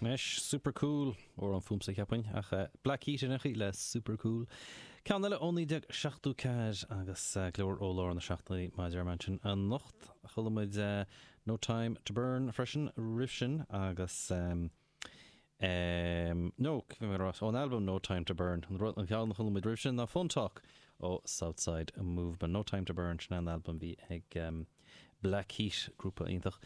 Anois, Super Cool, amhrán fúmsa cheapfainn, ach Black Heat in éineacht le Super Cool. Ceann eile ó 1974 agus go leor ó lár na seachtóidí mar a deir mé ansin anocht. Chuala muid No Time to Burn freisin roimh sin agus no, bhí mé ag rá, ón albam No Time to Burn. An rud, an ceann a chuala muid roimh sin ná Phone Talk ó Southside Movement. No Time to Burn, sin an albam a bhí ag Black Heat, grúpa iontach.